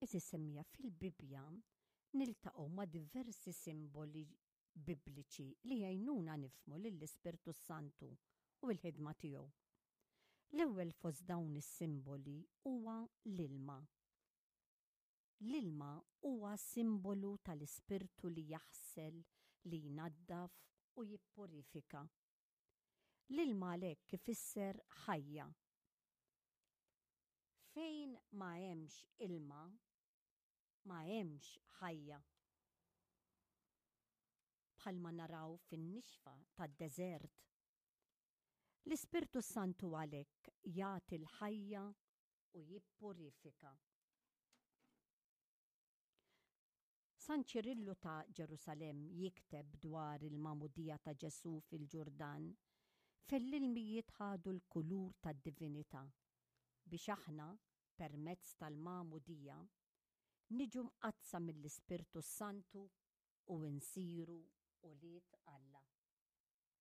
Għeżież semmiegħa, fil-Bibbja niltaqgħu ma' diversi simboli Bibliċi li jgħinuna nifhmu lill-Ispirtu s-Santu u l-ħidma tiegħu. L-ewwel fost dawn is-simboli huwa l-ilma. L-ilma huwa simbolu tal-Ispirtu li jaħsel, li jnaddaf u jippurifika. L-ilma għalhekk ifisser ħajja. Fejn ma hemmx ilma, ma hemmx ħajja. Bħalma naraw fin-nixfa tad-deżert. L-Ispirtu s-Santu għalhekk jagħti l-ħajja u jippurifika. San Ċirillu ta' Ġerusalemm jikteb dwar il-magħmudija ta' Ġesù fil-Ġurdan, fejn l-ilmijiet ħadu l-kulur tad-divinità, biex aħna, permezz tal-magħmudija, niġu mqaddsa mill-Ispirtu s-Santu u nsiru ulied Alla.